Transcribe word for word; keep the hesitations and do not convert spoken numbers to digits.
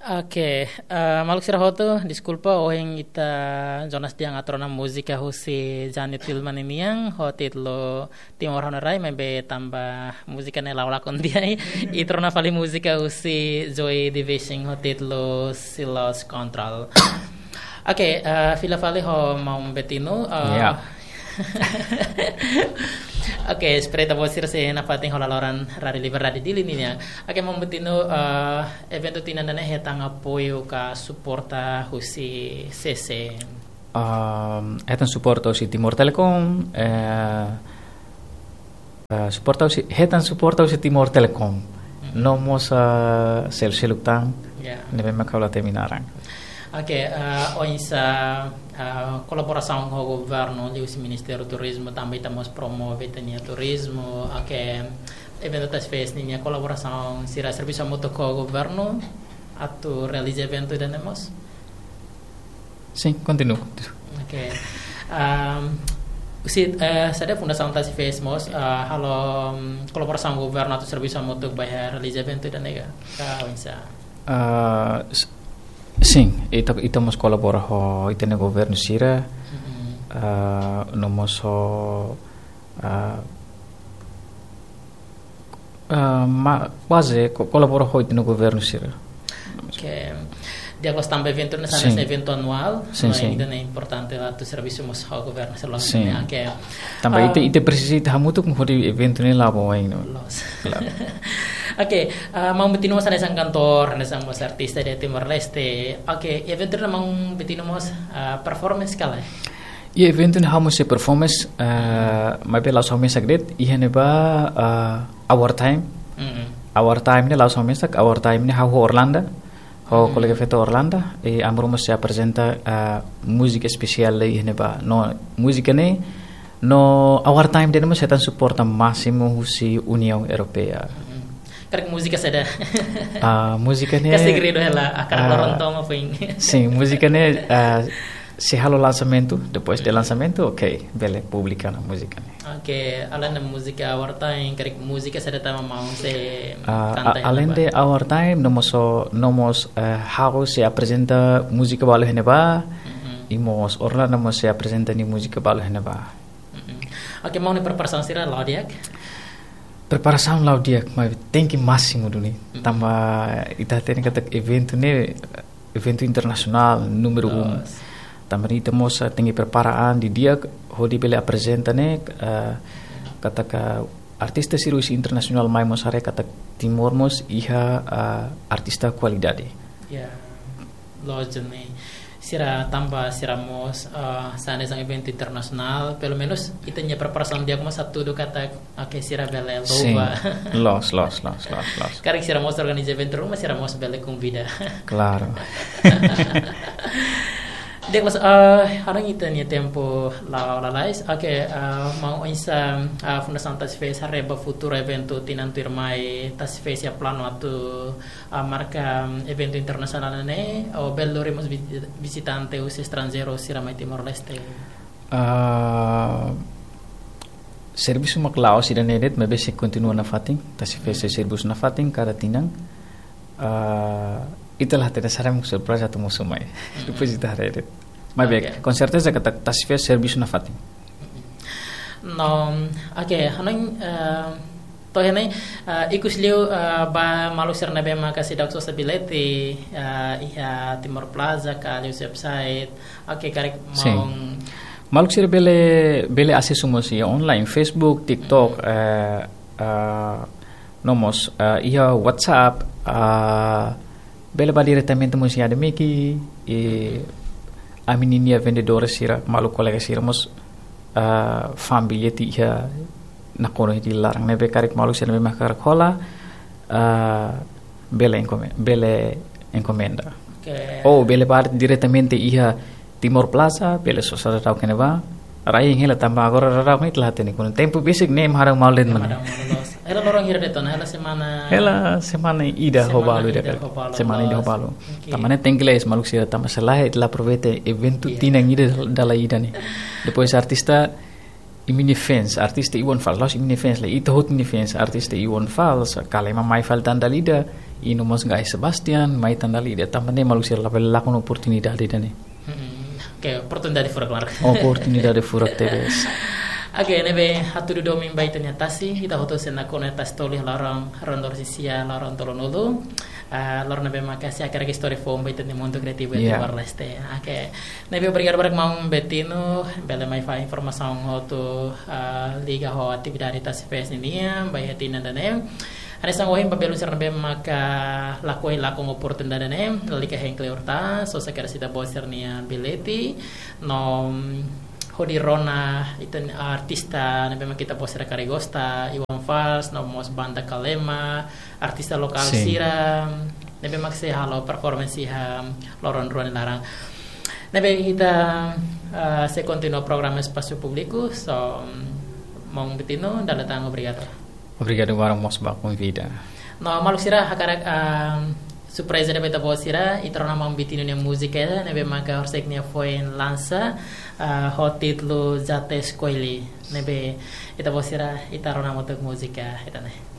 Oke, eh, maluk sira hotu, deskulpa, ohin ita Jonas Diang atu rona múzika husi Jani Tilman nian, ho títulu Timor Ha'u-nia Rai, maibé tanba múzika ne'e la'o lakon tiha, ita rona fali múzika husi Joy Division ho títulu Silos Control. Oke, eh, fila fali ho maun Betino, eh, Ya. Oke, espera ita-boot sira sei nafatin hola loron Rádiu Liberdade Dili nian. Oke, maun Betino, eh, eventu tinan ida-ne'e hetan apoiu ka suporta husi C C? Ehm, hetan suporta husi Timor Telecom, eh, eh, suporta husi, hetan suporta husi Timor Telecom. Hmm. No mós, eh, sel-, seluk tan, Ya. ne'ebé mak ha'u la temi naran. Oke, eh, oinsá, eh, kolaborasaun ho governu, liuhusi Ministériu Turizmu, tanba ita mós promove ita-nia turizmu. Oke, eventu Tasifest ninia kolaborasaun, sira servisu hamutuk ho governu atu realiza eventu ida-ne'e mós? Sin, kontinua. Oke. Ehm, husi, eh, saida Fundasaun Tasifest mós, eh, halo, mm, kolaborasaun ho governu atu servisu hamutuk ba iha realiza eventu ida-ne'e ka? Ka oinsá? Ah, s-, sin, ita, ita mós kolabora ho ita-nia governu sira, Mm-mm. ah, no mós ho, ah, ah, ma-, baze ko-, kolabora ho ita-nia governu sira. Oke. Di'ak, loos, tanba eventu ne'e hanesan Sin. eventu anuál, Sin, no, sin. ida-ne'e importante atu servisu mós ho governu sira loos Sin. ne'e. Oke. Tanba Ah. ita, ita presiza ita hamutuk hodi eventu ne'e la'o ba oin, no. Loos. Klaru. Oke, ah, maun Betino mós hanesan kantór, hanesan mós artista iha Timor-Leste. Oke, eventu ne'e maun Betino mós, ah, performance ka lae? Iha eventu ne'e ha'u mós sei performance, ah, maibé la'ós ha'u mesak de'it, iha ne'ebá, ah, Our Time. Mm-mm. Our Time ne'e la'ós ha'u mesak, Our Time ne'e ha'u ho Orlanda. Ho Hmm. kolega feto Orlanda, i ami rua mós sei aprezenta, ah, múzika espesiál iha ne'ebá. No, múzika ne'e, no Our Time ida-ne'e mós hetan suporta másimu husi Uniaun Europeia. Hmm. Karik múzika saida? Ah, múzika ne'e, Ka segredu hela, hakarak ah, loron to'o mak foin. Sin, múzika ne'e, ah, sei halo lansamentu, depois de lansamentu, oke, bele publika ona múzika ne'e. Oke, além de múzika Our Time, karik múzika saida tan mak maun sei Ah, kanta a-, iha além ne'ebá? de Our Time, no mós, no mós, eh, ha'u sei aprezenta múzika balu iha ne'ebá, Mm-mm. i mós Orlanda mós sei aprezenta nia múzika balu iha ne'ebá. Mm-mm. Oke, maun nia preparasaun sira la'o di'ak? Preparasaun la'o di'ak, maibé tenke másimu duni. Mm-mm. Tanba ita hatene katak eventu ne'e, eventu internasionál númeru un. Loos. Tanba ne'e ita mós, ah, tenke prepara an didi'ak hodi bele aprezenta ne'e, ah, katak artista sira husi internasionál mai mós haree katak Timor mós iha, ah, artista kualidade. Ya, loos duni. Sira tanba sira mós, ah, hanesan eventu internasionál, pelumenus ita-nia preparasaun di'ak mós hatudu katak, oke, sira bele Sin. louva. Loos, loos, loos, loos, loos. Karik sira mós organiza eventu ruma, sira mós bele konvida. Klaru. Di'ak, loos, eh, ha'u hanoin ita-nia tempu la'o lalais. Oke, eh, maun oinsá, eh, Fundasaun Tasifest haree ba futuru eventu tinan tuirmai, Tasifest iha planu atu, eh, marka, mm, eventu internasionál ne'e, ou bele lori mós vi-, vizitante husi estranjeiru sira mai Timor-Leste? Ah, servisu mak la'o sira ne'e de'it, maibé sei kontinua nafatin, Tasifest sei servisu nafatin kada tinan. Ah, ita la hatene saida mak surpreza atu mosu mai. Mm-mm. Depois ita haree de'it. Maibé, Oke. com certeza katak Tasifest servisu nafatin. No, oke, hanoin, eh, to'o iha ne'e, eh, ikus liu, eh, ba maluk sira ne'ebé maka seidauk sosa bilhete, eh, iha Timor Plaza ka liuhusi website. Oke, karik Sin. maun Maluk sira bele, bele asesu mós iha online, Facebook, TikTok, Mm. eh, eh, no mós, eh, iha WhatsApp, eh, bele bá diretamente mós iha Ademiki, i ami-nia vendedór sira, maluk kolega sira mós, ah, fa'an bilhete iha nakonu iha Dili laran. Ne'ebé karik maluk sira ne'ebé mak hakarak hola, ah, bele enkome-, bele enkomenda. Oke. Ou bele bá diretamente iha Timor Plaza, bele sosa daudaun iha ne'ebá. Rai hela tanba agora daudaun ita la hatene kuandu tempu besik ne'e ema hadaun malu de'it. Ema mana? Hadaun malu loos. Hela loron hira de'it ona, hela semana. Hela semana ida ho balu. Semana ida ida ka ho balu, semana ida ho loos. Balu. Oke. Tanba ne'e tenke lees maluk sira tanba se lae ita la aproveita eventu Iya. tinan ida dala ida ne'e. Depois artista imi-nia fans, artista Iwan Fals, la'ós imi-nia fans, lae ita hotu nia fans, artista Iwan Fals, kala ema mai fali tan dala ida, I no mós Gai Sebastian, mai tan dala ida, tanba ne'e maluk sira labele lakon oportunidade ida-ne'e. Hmm, oke, oportunidade furak, klaru. Oportunidade furak tebes. Oke, ne'ebé hatudu domin ba ita-nia tasi, ita hotu sei nakonu iha Tasi Tolu iha loron, loron dorsisia, loron tolunulu. Ah, loron ne'ebé maka sei hakarak istória foun ba ita-nia mundu kriativu iha Timor-Leste. Oke. Ne'ebé obrigadu barak maun Betino, bele mai fó informasaun hotu, ah, liga ho atividade Tasi Fest ninian, ba iha tinan ida-ne'e. Hanesan ohin ba belun sira ne'ebé maka lakohi lakon oportunidade ne'e, lalika hein kleur tan, só sei hakerek ita-boot sira-nia bilhete, no, mm, hodi rona ita-nia artista ne'ebé maka ita-boot sira karik gosta, Iwan Fals, no mós banda Kalema, artista lokál sira, ne'ebé maka sei halo performance iha loron rua nia laran. Ne'ebé ita, ah, sei kontinua programa Espasu Públiku, so, mm, maun Betino, dala ida tan obrigadu. Obrigadu barak mós ba konvida. No, maluk sira, hakarak, ah, surpreza ida ba ita-boot sira, ita rona maun Betino nia múzika, ne'ebé maka horisehik nia foin lansa, ah, ho títulu Já Te Escolhi, ne'ebé ita-boot sira, ita rona hamutuk múzika ida-ne'e.